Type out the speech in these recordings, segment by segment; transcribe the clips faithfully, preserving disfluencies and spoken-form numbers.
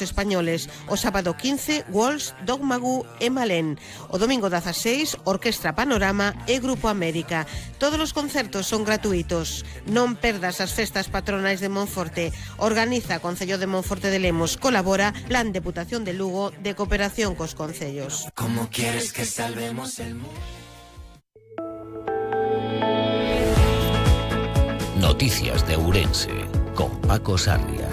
españoles. O sábado quince, Walsh, Dogmagu e Malén. O domingo dieciséis, Orquestra Panorama e Grupo América. Todos os concertos son gratuitos. Non perdas as festas patronais de Monforte. Organiza Concello de Monforte de Lemos. Colabora Plan Deputación de Lugo de cooperación cos concellos. ¿Cómo quieres que salvemos el mundo? Noticias de Ourense con Paco Sarria.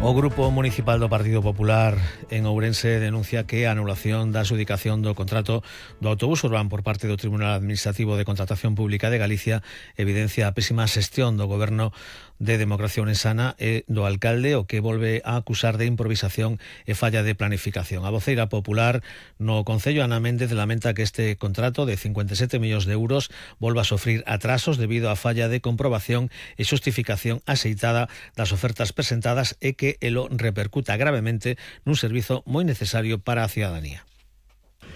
O Grupo Municipal do Partido Popular en Ourense denuncia que a anulación da adxudicación do contrato do autobús urbano por parte do Tribunal Administrativo de Contratación Pública de Galicia evidencia a pésima xestión do Goberno de Democracia Ourensana e do alcalde, o que volve a acusar de improvisación e falla de planificación. A voceira popular no Concello, Ana Méndez, lamenta que este contrato de cincuenta e sete millóns de euros volva a sofrir atrasos debido á falla de comprobación e xustificación axeitada das ofertas presentadas e que elo repercuta gravemente nun servizo moi necesario para a ciudadanía.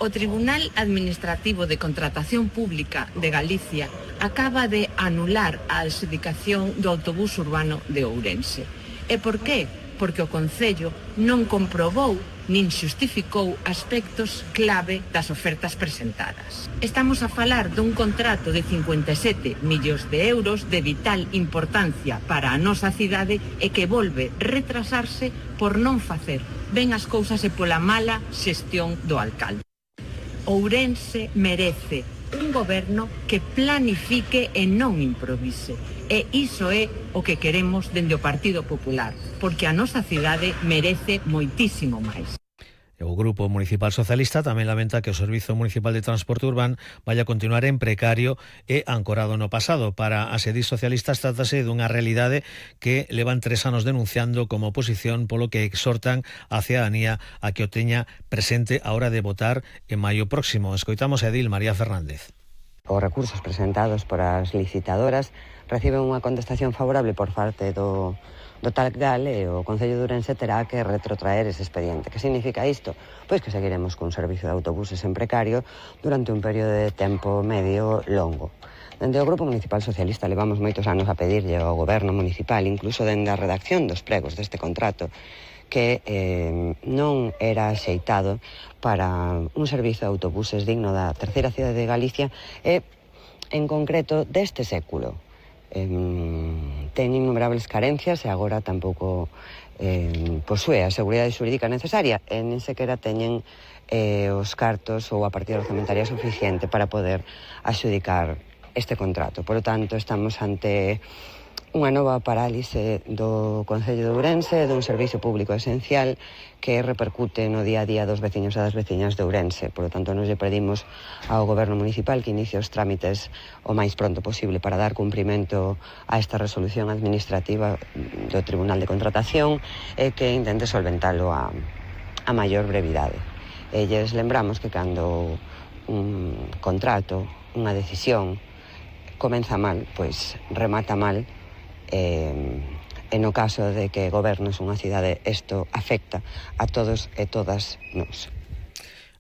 O Tribunal Administrativo de Contratación Pública de Galicia acaba de anular a adxudicación do autobús urbano de Ourense. E por qué? Porque o Concello non comprobou nin xustificou aspectos clave das ofertas presentadas. Estamos a falar dun contrato de cincuenta e sete millóns de euros de vital importancia para a nosa cidade e que volve retrasarse por non facer ben as cousas e pola mala xestión do alcalde. Ourense merece un goberno que planifique e non improvise. E iso é o que queremos dende o Partido Popular, porque a nosa cidade merece moitísimo máis. O Grupo Municipal Socialista tamén lamenta que o Servizo Municipal de Transporte Urbano vaya a continuar en precario e ancorado no pasado. Para as edís socialistas trátase dunha realidade que levan tres anos denunciando como oposición, polo que exhortan a ciudadanía a que o teña presente a hora de votar en maio próximo. Escoitamos a edil María Fernández. Os recursos presentados por as licitadoras reciben unha contestación favorable por parte do do tal gal e o Concello de Ourense terá que retrotraer ese expediente. Que significa isto? Pois que seguiremos cun servicio de autobuses en precario durante un período de tempo medio longo. Dende o Grupo Municipal Socialista levamos moitos anos a pedirlle ao Goberno Municipal, incluso dende a redacción dos pregos deste contrato, que eh, non era axeitado para un servizo de autobuses digno da terceira cidade de Galicia e, en concreto, deste século. Eh, ten innumerables carencias e agora tampouco eh, posúe a seguridade xurídica necesaria e nin sequera teñen eh, os cartos ou a partida orzamentaria suficiente para poder axudicar este contrato. Por lo tanto, estamos ante unha nova parálise do Concello de Ourense, dun servizo público esencial que repercute no día a día dos veciños e das veciñas de Ourense. Por lo tanto, nos lle pedimos ao Goberno Municipal que inicie os trámites o máis pronto posible para dar cumprimento a esta resolución administrativa do Tribunal de Contratación e que intente solventalo a, a maior brevidade. E lles lembramos que cando un contrato, unha decisión, comeza mal, pois remata mal. Eh, e no caso de que gobernes unha cidade, isto afecta a todos e todas nós.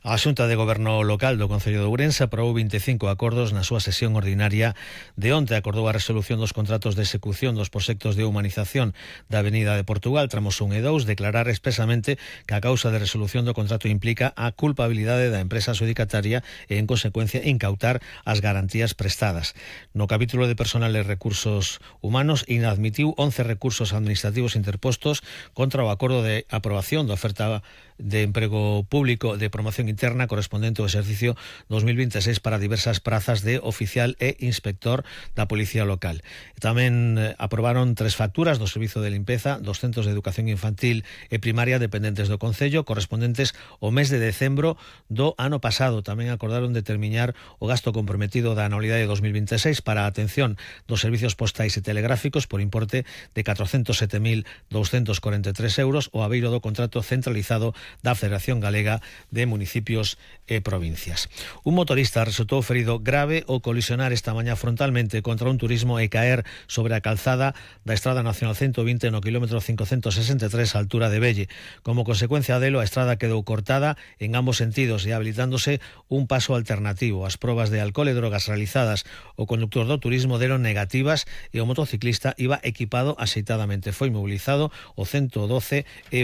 A Xunta de Goberno Local do Concello de Ourense aprobou vinte e cinco acordos na súa sesión ordinaria de onte. Acordou a resolución dos contratos de execución dos proxectos de humanización da Avenida de Portugal, tramos un e dous, declarar expresamente que a causa de resolución do contrato implica a culpabilidade da empresa adxudicataria e, en consecuencia, incautar as garantías prestadas. No capítulo de personal e recursos humanos, inadmitiu once recursos administrativos interpostos contra o acordo de aprobación da oferta de emprego público de promoción interna correspondente ao exercicio dos mil veintiséis para diversas prazas de oficial e inspector da Policía Local. Tamén aprobaron tres facturas do Servizo de Limpeza dos Centros de Educación Infantil e Primaria dependentes do Concello correspondentes ao mes de decembro do ano pasado. Tamén acordaron determinar o gasto comprometido da anualidade de dos mil veintiséis para a atención dos servicios postais e telegráficos por importe de catrocentos sete mil douscentos corenta e tres euros o abeiro do contrato centralizado da Federación Galega de Municipios municipios e provincias. Un motorista resultou ferido grave ao colisionar esta mañá frontalmente contra un turismo e caer sobre a calzada da Estrada Nacional ciento vinte no kilómetro cincocentos sesenta e tres á altura de Velle. Como consecuencia delo, a estrada quedou cortada en ambos sentidos e habilitándose un paso alternativo. As probas de alcohol e drogas realizadas ao conductor do turismo deron negativas e o motociclista iba equipado axeitadamente. Foi mobilizado o ciento doce e